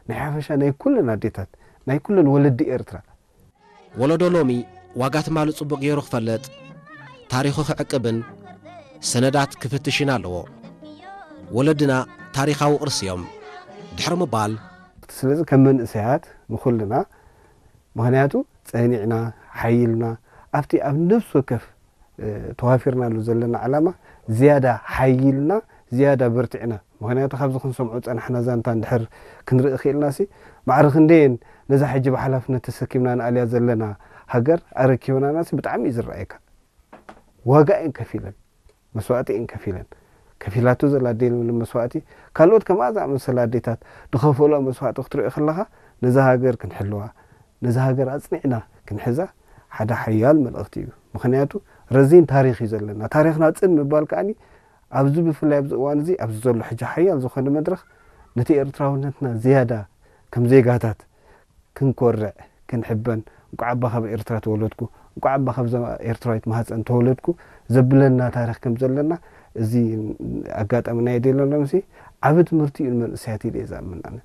ናይ ሓፈሻ ናይ ኩለን ኣዴታት፣ ናይ ኩለን ወለዲ ኤርትራ። ወለዶ ሎሚ ዋጋ ትማሊ ጽቡቕ ገይሩ ክፈልጥ፣ ታሪኹ ክዕቅብን ሰነዳት ክፍትሽን ኣለዎ። ወለድና ታሪኻዊ ቅርሲ እዮም። ድሕሪ ምባል ስለዚ ከም መንእሰያት ንኹልና፣ ምኽንያቱ ጸኒዕና፣ ሓይልና ኣብቲ ኣብ ነፍሲ ወከፍ ተዋፊርናሉ ዘለና ዓላማ ዝያዳ ሓይልና፣ ዝያዳ በርቲዕና። ምኽንያቱ ካብዚ ክንሰምዖ ጸናሕና ዛንታ እንድሕር ክንርኢ ክኢልናሲ፣ ማዕረ ክንደየን ነዛ ሕጂ ብሓላፍነት ተሰኪምና ንኣልያ ዘለና ሃገር ኣረኪበናናሲ ብጣዕሚ እዩ ዝረኣየካ። ዋጋ እየን ከፊለን፣ መስዋእቲ እየን ከፊለን። ከፊላቶ ዘላ ኣዴ መስዋእቲ፣ ካልኦት ከምኣ ዝኣመሰላ ኣዴታት ዝኸፈሎ መስዋእቲ ክትሪኦ ከለኻ፣ ነዛ ሃገር ክንሕልዋ፣ ነዛ ሃገር ኣጽኒዕና ክንሕዛ ሓደ ሓያል መልእኽቲ እዩ። ምኽንያቱ ረዚን ታሪኽ እዩ ዘለና። ታሪኽና ጽን ምባል ከኣኒ ኣብዚ ብፍላይ ኣብዚ እዋን እዚ ኣብዚ ዘሎ ሕጂ ሓያል ዝኾነ መድረኽ ነቲ ኤርትራውነትና ዝያዳ ከም ዜጋታት ክንኮርዕ ክንሕበን፣ እንቋዕ ኣባ ካብ ኤርትራ ተወለድኩ፣ እንቋዕ ኣባ ካብዛ ኤርትራዊት ማህፀን ተወለድኩ ዘብለና ታሪኽ ከም ዘለና እዚ ኣጋጣሚ ናይ ዴሎ ሎምሲ ዓቢ ትምህርቲ እዩ ንመንእሰያት ኢለ እየ ዝኣምን ኣነ።